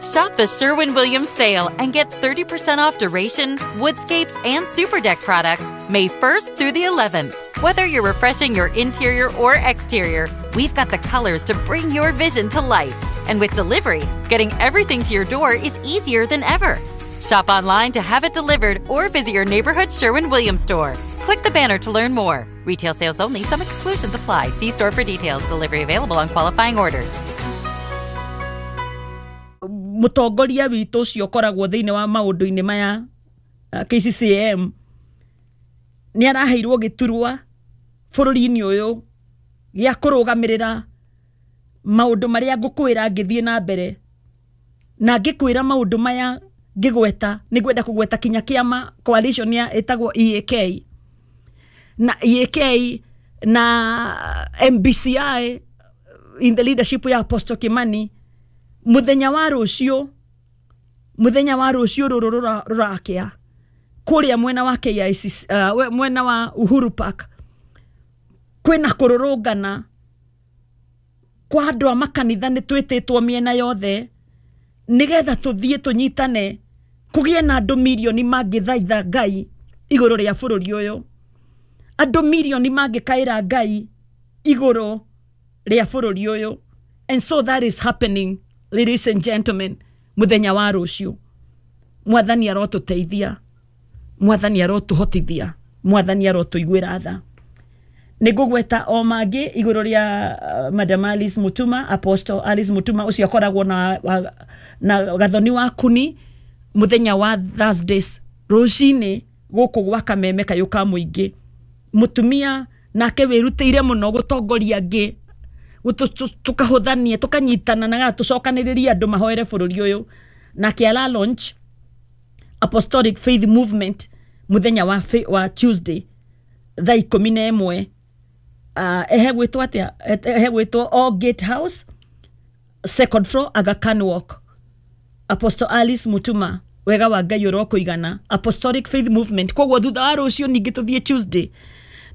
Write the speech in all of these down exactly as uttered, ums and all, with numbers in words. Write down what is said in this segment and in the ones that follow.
Shop the Sherwin-Williams sale and get thirty percent off Duration, Woodscapes, and SuperDeck products May first through the eleventh. Whether you're refreshing your interior or exterior, we've got the colors to bring your vision to life. And with delivery, getting everything to your door is easier than ever. Shop online to have it delivered or visit your neighborhood Sherwin-Williams store. Click the banner to learn more. Retail sales only. Some exclusions apply. See store for details. Delivery available on qualifying orders. Mutongoria witũ ũcio ũkoragwo thĩinĩ wa maũndũ-inĩ maya K C C M nĩ araheirwo gĩturwa bũrũri-inĩ ũyũ gĩa kũrũgamĩrĩra maũndũ marĩa ngũkwĩra ngĩthiĩ na mbere, na ngĩkwĩra maũndũ maya ngĩgweta nĩ ngwenda kũgweta kinya kĩama coalition ya ĩtagwo E A K na E A K na M B C I in the leadership ya Apostle Kimani. Muthenya wa rũciũ, muthenya wa rũciũ rũrũ rũrakĩa kũrĩa mwena wa K I C C, uh, mwena wa Uhuru Park kwĩna kũrũrũngana kwa andũ a makanitha nĩ twĩtĩtwo mĩena yothe nĩgetha tũthiĩ tũnyitane kũgĩe na andũ mirioni mangĩthaitha Ngai igũrũ rĩa bũrũri ũyũ, andũ mirioni mangĩkaĩra Ngai igũrũ rĩa bũrũri ũyũ. And so that is happening, ladies and gentlemen, muthenya wa rũciũ. Mwathani arotũteithia, mwathani arotũhotithia, mwathani arotũiguĩra tha. Nĩngũgweta o mangĩ igũrũ rĩa Madam Alice Mutuma, Apostle Alice Mutuma ũcio akoragwo na, na gathoni wa kuni muthenya wa Thursdays rũcinĩ gũkũ gwa Kameme kayũ ka mũingĩ. Mũtumia nake wĩrutĩire mũno gũtongoria angĩ, tukahũthania tukanyitana na tũcokanĩrĩrie andũ mahoere bũrũri ũyũ. Nake ala launch Apostolic Faith Movement muthenya wa, wa Tuesday thaa ikũmi na ĩmwe. Uh, ehe gwĩtwo atĩa? Ehe gwĩtwo All Gate House, second floor, Aga Khan Walk. Apostle Alice Mutuma, wega wa Ngai ũrokũigana. Apostolic Faith Movement. Koguo thutha wa rũciũ ningĩ tũthiĩ Tuesday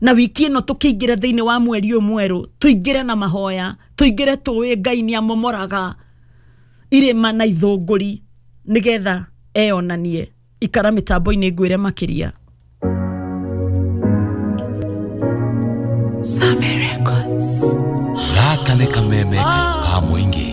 na wiki ĩno tũkĩingĩra thĩinĩ wa mweri ũyũ mwerũ, tũingĩre na mahoya, tũingĩre tũĩ Ngai nĩ amomoraga irĩma na ithũngũri nĩgetha eyonanie. Ikara mĩtambo-inĩ ngwĩre makĩria. Same Records. Gaka nĩ kameme ka mũingĩ.